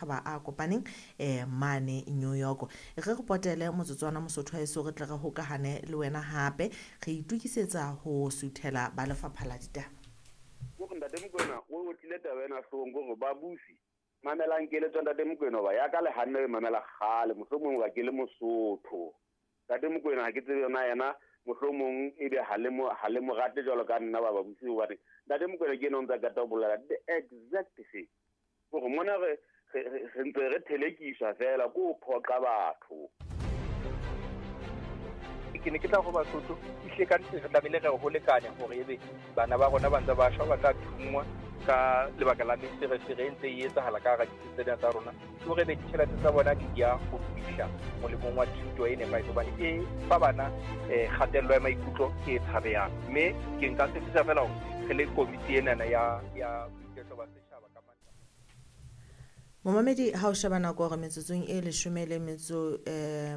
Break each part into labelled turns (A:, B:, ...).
A: Matjhaba a Kopaneng mane New York. Re re potele motsotswana Mosotho wa heso, re tle re hokahane le wena hape re itukisetsa ho suthela ba lefapha la ditaba.
B: Kore Ntate Mokoena o otlile taba ena hloohong, kore babusi mamelang keletso Ntate Mokoena, hoba ya ka le hanne o e mamela kgale, mohlomong hoba ke le Mosotho. Ntate Mokoena ha ke tsebe yona yena, mohlomong ebe ha le mo ha le mo rate jwalo ka nna ba babusi, hobane Ntate Mokoena ke ena o ntsa qeta ho bolela the exact thing. Kore mona re re ntse re thelekiswa fela ko ho phoqa batho.
C: Ke ne ke tla ho Basotho, ehlile ka nnete re tlamehile re ho lekane hore ebe bana ba rona ba ntse ba shwa, ba tla thunngwa ka lebaka la meferefere e ntse e etsahala ka hara ditsi tsena tsa rona. Ke hore ebe ditjhelete tsa bona di ya ho fihla molemong wa thuto e nepahetseng, hobane e fa bana kgatello ya maikutlo e tshabehang. Mme ke nka tshepisa feela hore re le komiti enana ya boiketlo ba setjhaba ka
A: Momamedi, ha o sheba nako hore metsotsong e leshome le metso 18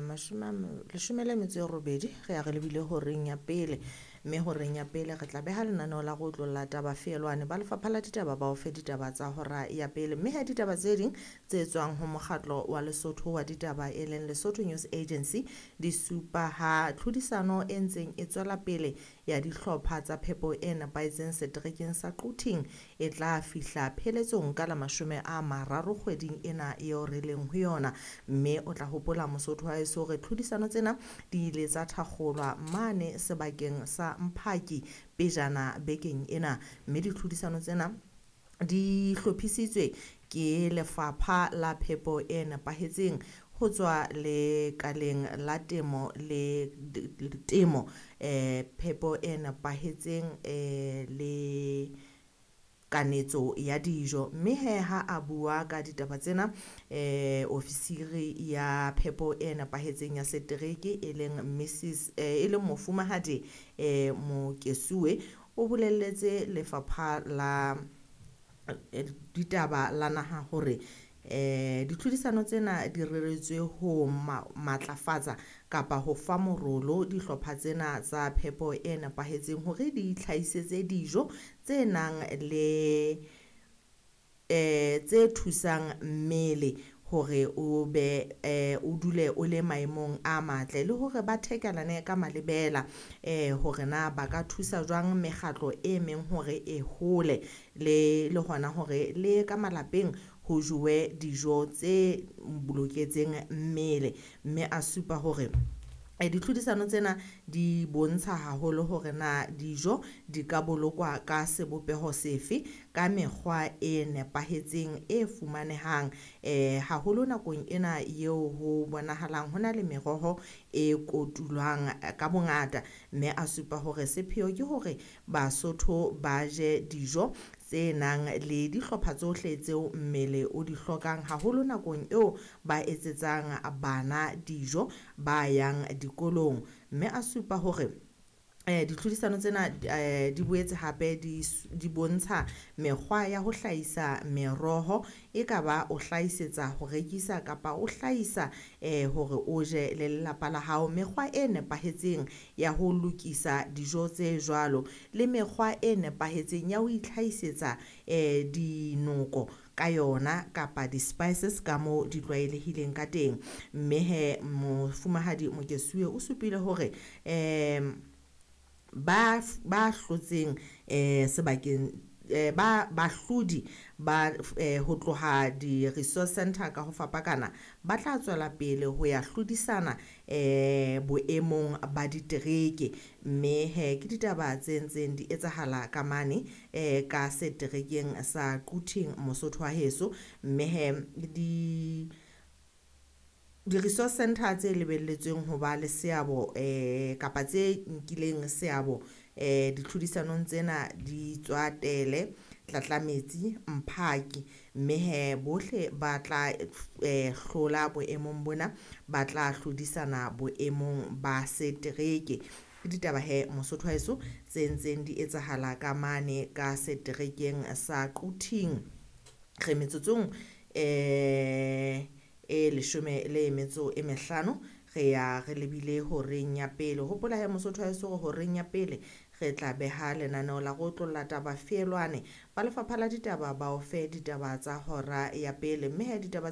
A: re ya re lebile horeng ya pele, mme horeng ya pele re tla beha lenaneo la go otlolla taba feelwane ba lefapha la ditaba ba o fe ditaba tsa hora ya pele, mme ha ditaba tse ding tse tswang ho mokgatlo wa Lesotho wa ditaba e leng Lesotho News Agency di supa ha tlhodisano e ntseng e tswela pele ya dihlopha tsa phepo e nepahetseng seterekeng sa Quthing e tla fihla pheletsong ka la 30 kgweding ena eo re leng ho yona. Mme o tla hopola Mosotho wa heso hore tlhodisano tsena di ile tsa thakgolwa mane sebakeng sa Mphaki pejana bekeng ena, mme ditlhodisano tsena di hlophisitswe ke lefapha la phepo e nepahetseng ho tswa lekaleng la temo le temo phepo e nepahetseng le kanetso ya dijo. Mme he ha a bua ka ditaba tsena ofisiri ya phepo e nepahetseng ya setereke e leng Mrs e leng mofumahadi Mokesuwe o bolelletse lefapha la ditaba la naha hore ditlhodisano tsena di reretswe ho matlafatsa kapa ho fa morolo dihlopha tsena tsa phepo e nepahetseng hore di itlhahisetse dijo tse nang le tse thusang mmele hore o be o dule o le maemong a matle, le hore ba thekelane ka malebela hore na ba ka thusa jwang mekgatlo e meng hore e hole le hona hore le ka malapeng ho jowe dijo tse boloketseng mmele. Mme a supa hore ditlhodisano tsena di bontsha haholo hore na dijo di ka bolokwa ka sebopeho sefe ka mekgwa e nepahetseng e fumanehang haholo nakong ena eo ho bonahalang ho na le meroho e kotulwang ka bongata. Mme a supa hore sepheo ke hore Basotho ba je dijo tse nang le dihlopha tsohle tseo mmele o di hlokang haholo nakong eo ba etsetsang bana dijo ba yang dikolong. Mme a supa hore ditlhodisano tsena di boetse hape di bontsha mekgwa ya ho hlahisa meroho, e ka ba o hlahisetsa ho rekisa kapa o hlahisa hore o je le lelapa la hao, mekgwa e nepahetseng ya ho lokisa dijo tse jwalo le mekgwa e nepahetseng ya ho itlhahisetsa dinoko ka yona kapa di-spices ka moo di tlwaelehileng ka teng. Mme he mofumahadi Mokesuwe o supile hore ba hlotseng sebakeng ba bahlodi ba ho tloha di-resource center ka ho fapakana ba tla tswela pele ho ya hlodisana boemong ba ditereke. Mme he ke ditaba tse ntseng di etsahala ka mane ka seterekeng sa Quthing Mosotho wa heso. Mme he di-resource center tse lebelletsweng ho ba le seabo kapa tse nkileng seabo ditlhodisanong tsena di tswa Tele, Tlatlametsi, Mphaki. Mme he bohle ba tla hlola boemong bona, ba tla hlodisana boemong ba setereke. Ke ditaba he Mosotho wa heso tse ntseng di etsahala ka mane ka seterekeng sa Quthing. Re metsotsong e 15 re ya re lebile horeng ya pele. Hopola he Mosotho wa heso hore horeng ya pele re tla beha lenaneo la go otlolla taba feelwane ba lefapha la ditaba ba o fe ditaba tsa hora ya pele. Mme he ditaba tse